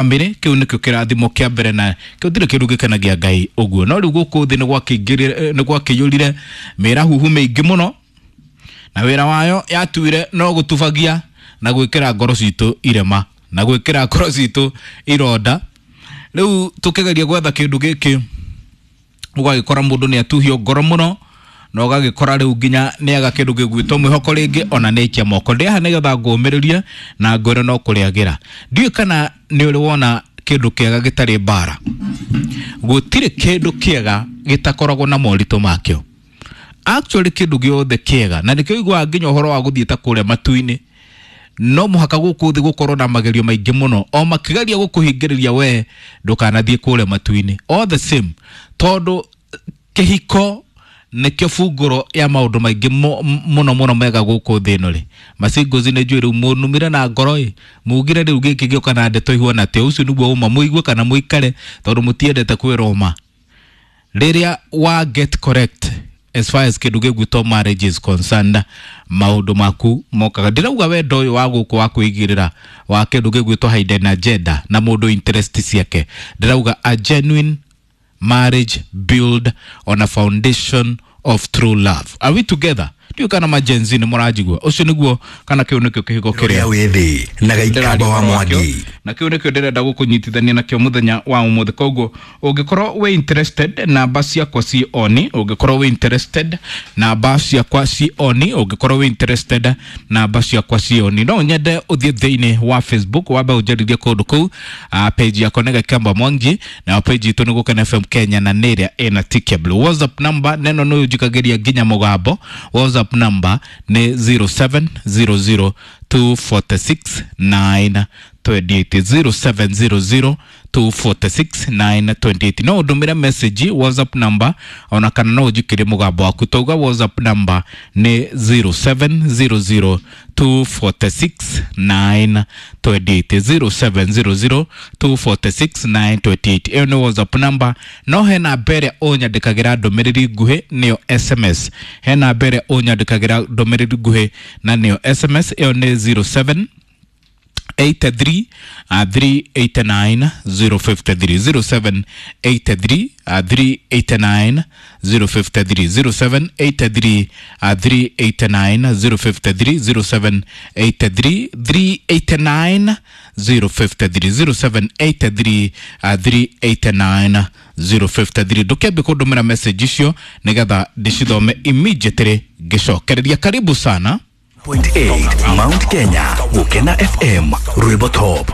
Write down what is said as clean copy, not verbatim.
Bamĩrĩ kĩu nĩkĩo kĩrathimo kĩa mbere na gũtirĩ kĩndũ gĩkenagia Ngai ũguo. No rĩu gũkũ thĩ nĩ gwakĩiyũrire mĩrahuhu mĩingĩ mũno na wĩra wayo yatuire no gũtubagia na gwĩkĩra ngoro citũ irema na gwĩkĩra ngoro citũ ironda. Rĩu tũkĩgeria gwetha kĩndũ gĩkĩ ũgagĩkora mũndũ nĩ atuhio ngoro mũno na ũgagĩkora rĩu nginya nĩaga kĩndũ gĩgwĩtwo mwĩhoko rĩngĩ ona nĩ aikia moko. Ndĩ haha nĩgetha ngũmĩrĩrie na ngwĩre no kũrĩagĩra. Ndiũĩ kana nĩ ũrĩ wona kĩndũ kĩega gĩtarĩ mbara. Gũtirĩ kĩndũ kĩega gĩtakoragwo na moritũ makĩo. Actually kĩndũ gĩothe kĩega na nĩkĩo ũiguaga nginya ũhoro wa gũthiĩ ta kũrĩa matu-inĩ no mũhaka gũkũ thĩ gũkorwo na magerio maingĩ mũno o makĩgeria gũkũhingĩrĩria we ndũkanathiĩ kũrĩa matu-inĩ. All the same, tondũ kĩhiko nĩkĩo bungũro ya maũndũ maingĩ mũno mũno mega gũkũ thĩ ĩno rĩ. Macingozi nĩ njũĩ rĩu mũnumire na ngoro ĩ, mugire rĩu gĩkĩ gĩũka na ndeto ihuana atĩa, ũcio nĩguo ũma mũigue kana mũikare tondũ mũtiendete kwĩrwo ma. Rĩrĩa wa get correct as far as kĩndũ gĩgwĩtwo marriage is concerned, maũndũ maku mokaga. Ndĩrauga wendo ũyũ wa gũkũ wa kwĩigĩrĩra wa kĩndũ gĩgwĩtwo hidden agenda na mũndũ interest ciake. Ndĩrauga a genuine marriage built on a foundation of true love. Are we together? Ndiũĩ kana ma Gen Z nĩ mũranjigua. Ũcio nĩguo kana kĩu nĩkĩo kĩhiko kĩrĩa kĩrĩa wĩ thĩ na Gĩikamba wa Mwangi. Na kĩu nĩkĩo ndĩrenda gũkũnyitithania nakĩo mũthenya wa ũmũthĩ. Koguo ũngĩkorwo wĩ interested, namba ciakwa ci oni. Ũngĩkorwo wĩ interested, namba ciakwa ci oni. Ũngĩkorwo wĩ interested, namba ciakwa ci oni. No nyende ũthiĩ thĩinĩ wa Facebook wambe ũnjarĩrie kũndũ kũu. Page yakwa nĩ Gĩkamba Mwangi nayo page itũ nĩ Gũkena FM Kenya na nĩ ĩrĩa ĩna tick ya blue. WhatsApp number neno nĩ ũnjikagĩria nginya mũgambo. WhatsApp number nĩ 0700 246 928, 0700 246 928. No ũndũmĩre message WhatsApp number ona kana no ũnjikĩrie mũgambo waku. Tauga WhatsApp number nĩ 0700 246 928, 0700 246 928. Ĩyo nĩ WhatsApp number. No he namba ĩrĩa ũnyandĩkagĩra ndũmĩrĩri nguhĩ nĩyo SMS. He namba ĩrĩa ũnyandĩkagĩra ndũmĩrĩri nguhĩ na nĩyo SMS. Ĩyo nĩ 07 83 389 053, 07 83 389 053, 07 83 389 053, 07 83 389 053, 07 83 389 053. Ndũkĩambe kũndũmĩra message icio nĩgetha ndĩcithome immediately ngĩcokereria. Karibu sana. 0.8 Mount Kenya, Gũkena FM, Rwĩmbo Top.